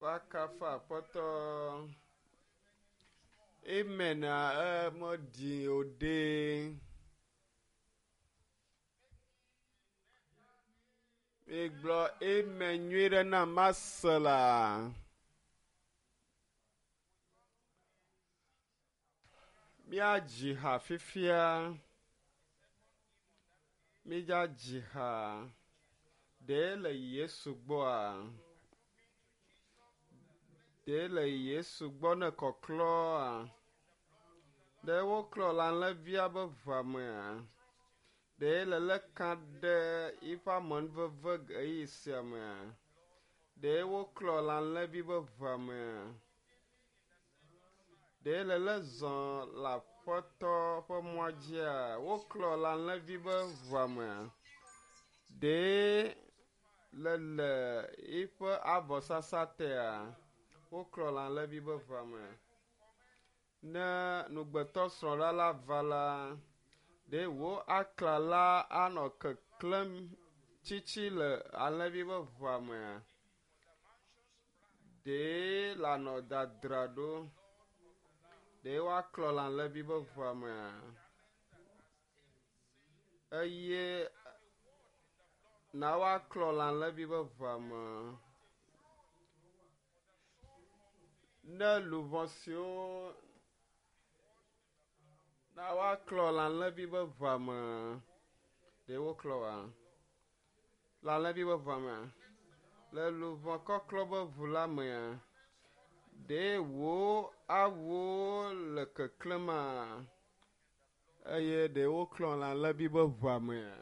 Woakafu Aƒetɔ. Amen meɖi o ɖe. Migblɔ amen nyui ɖe na mase la. Míadzi ha fifia. Mídza dzi ha. Ɖe le Yesu gbɔa? Ɖe le Yesu gbɔ ne kɔklɔa? Ɖe woklɔ le alẽvia be ʋua mea? Ɖe le lé ka ɖe yiƒe amenuveve ɣeyiɣi sia mea? Ɖe woklɔ le alẽvi be ʋua mea? Ɖe le lé zɔ le Aƒetɔ ƒe mɔa dzia? Woklɔ le alẽvi be ʋua mea? Ɖe le le yiƒe avɔsasa tea? Woklɔ le alẽvi be ʋua mea? Ne nugbetɔ srɔ̃ɖa la va la, ɖe wò aklala anɔ keklẽm tsitsi le alẽvi be ʋua mea? Ɖe lanɔ dadra ɖo? Ɖe woaklɔ le alẽvi be ʋua mea? Eye na woaklɔ le alẽvi be ʋua me. Ne luʋɔ siwo na woaklɔ le alẽvi be ʋua me. Ɖe woklɔ wa? Le alẽvi be ʋua mea? Le luʋɔ kɔklɔ be ʋu la mea? Ɖe wò awuwo le keklẽma? Eye ɖe woklɔ le alẽvi be ʋua mea?